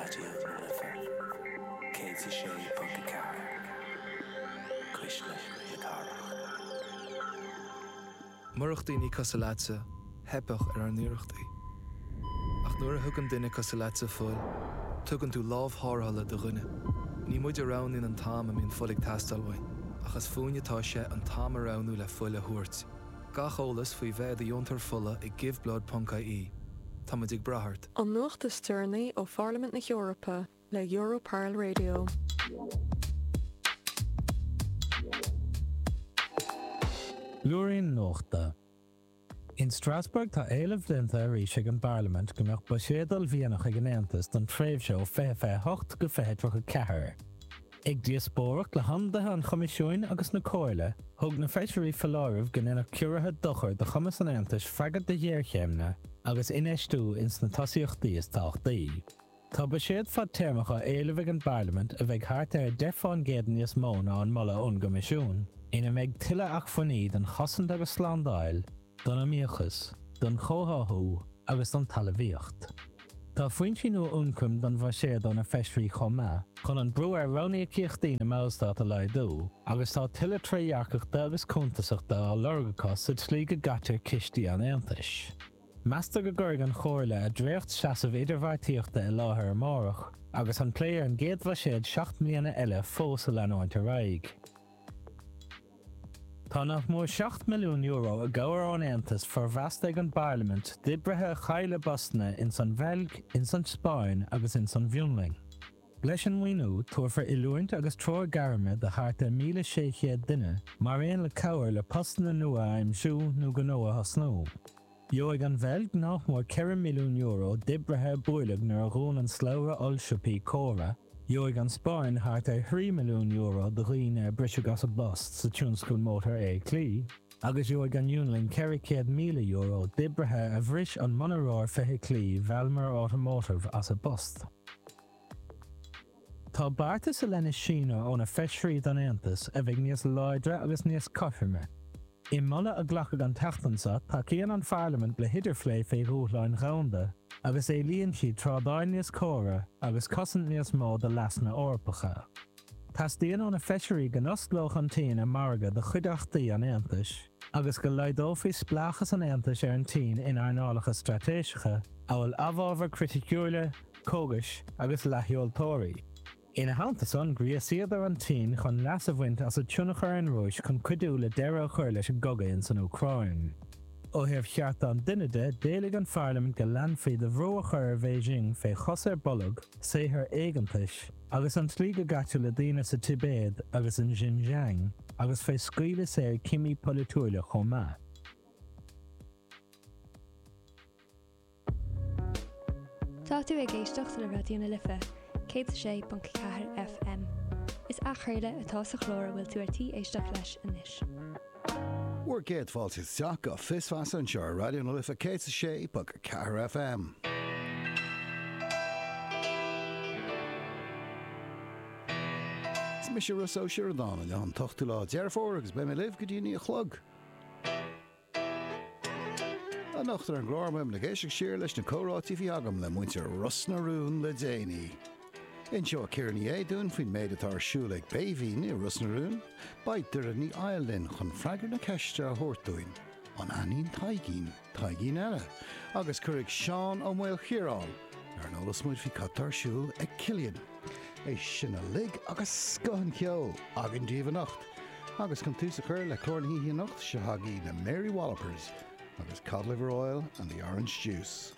Raidió na Life 106.4, Cuisle na Cathrach. Murach daoine cosúil leatsa, theipfeadh ar ár n-iarrachtaí. Ach nuair a thugann duine cosúil leatsa fuil, tugann tú lámh tharrthála do dhuine. Ní muid a roghnaíonn an t-am a mbíonn fuil ag teastáil uainn, ach is fúinn atá sé an t-am a roghnú le fuil a thabhairt. Gach eolas faoi bheith i do dheontóir fola ag giveblood.ie. Tá muid ag brath ort. An nuacht is deireanaí ó Pharlaimint na hEorpa le Europarl Radio. Blúirín Nuachta. In Strasbourg tá éileamh déanta arís ag an bParlaimint go mbeadh buiséad uaillmhianach ag an Aontas don tréimhse ó 2028 go 2034. Ag díospóireacht le hionadaithe an Choimisiúin agus na Comhairle, thug na feisirí foláireamh go ndéanfadh ciorruithe dochar do chumas an Aontais freagairt do ghéarchéimeanna agus infheistiú ins na tosaíochtaí is tábhachtaí. Tá buiséad fadtéarmach á éileamh ag an bParlaimint a bheidh thart ar 10% níos mó ná an moladh ón gCoimisiún, ina mbeidh tuilleadh acmhainní don chosaint agus slándáil, don iomaíochas, don chomhtháthú agus don talmhaíocht. Tá foinsí nua ioncaim don bhuiséad ó na feisirí chomh maith, chun an brú ar ranníocaíochtaí na mballstát a laghdú, agus tá tuilleadh trédhearcachta agus cuntasachta á lorg acu sa tslí go gcaitear cistí an Aontais. Meastar go gcuirfidh an Chomhairle a dréacht-seasamh idirbheartaíochta i láthair amárach, agus an plé ar an gcéad bhuiséad 7 mbliana eile fós a leanúint ar aghaidh. Tá nach mór €7 milliún i gcabhair ón Aontas formheasta ag an bParlaimint d'oibrithe a chaill a bpostanna ins an Bheilg, ins an Spáinn agus ins an bhFionlainn. Leis an maoiniú, tabharfar oiliúint agus treoir gairme do thart ar 1,600 duine, mar aon le cabhair le postanna nua a aimsiú nó gnó a thosnú. Gheobhaidh an Bheilg nach mór €4 milliún d'oibrithe a buaileadh nuair a dhún an slabhra ollsiopaí Cora, gheobhaidh an Spáinn thart ar €3 milliún do dhaoine a briseadh as a bpost sa tionscal mótarfheithiclí, agus gheobhaidh an Fhionlainn €400,000 d'oibrithe a bhris an monaróir feithiclí Valmor Automotive as a bpost. Tá beartas i leith na Síne ó na feisirí don Aontas a bheidh níos láidre agus níos cothroime. I moladh a glacadh an tseachtain seo, tacaíonn an Pharlaimint le hidirphlé fé dhúshláin dhomhanda agus éilíonn siad trádáil níos córa agus cosaint níos mó do leasanna Eorpacha. Teastaíonn ó na feisirí go n-osclódh an tSín a margadh do chuideachtaí an Aontais agus go laghdófaí spleáchas an Aontais ar an tSín in earnálacha straitéiseacha amhail amhábhair chriticiúla, cógais agus leathsheoltóirí. Ina theannta san, ghríosaíodar an tSín chun leas a bhaint as a tionchar ar an Rúis chun cuidiú le deireadh a chur leis an gcogadh ins an Úcráin. Ó thaobh chearta an duine de, d'éiligh an Pharlaimint go leanfaí de bhrú a chur ar Bheijing fé chos ar bolg, saothar éigeantais, agus an tslí go gcaitear le daoine sa Tibéad agus in Xinjiang, agus fé scaoileadh saor cimí polaitiúila chomh maith. Tá tú ag éisteacht le Raidió na Life 106.4 FM. Is athchraoladh atá sa chlár a bhfuil tú ar tí éisteacht leis anois. Bhur gcéad fáilte isteach go Fios Feasa anseo ar Raidió na Life 106.4 FM. Is mise Rossa Ó Sioradáin, inniu an t-ochtú lá Deireadh Fómhair agus beidh mé libh go dtí a 9 a chlog. Anocht ar an gclár beimid ag éisteacht siar leis na comhráití a bhí agam le muintir Ros na Rún le déanaí. Inseoidh Ciara Ní É dúinn faoin méid atá ar siúl ag Béibhinn i Ros na Rún. Beidh Doireann Ní Fhoighil linn chun freagra na ceiste a thabhairt dúinn, an aithníonn Taidhgín Taidhgín eile? Agus cuirfidh Seán Ó Maoilchiaráin ar an eolas muid faoi cad tá ar siúl ag Cillian. É sin uilig agus scoth an cheoil againn daoibh anocht. Agus chun tús a chur le clár na hoíche anocht, seo agaibh na Mary Wallopers agus Cod Liver Oil and the Orange Juice.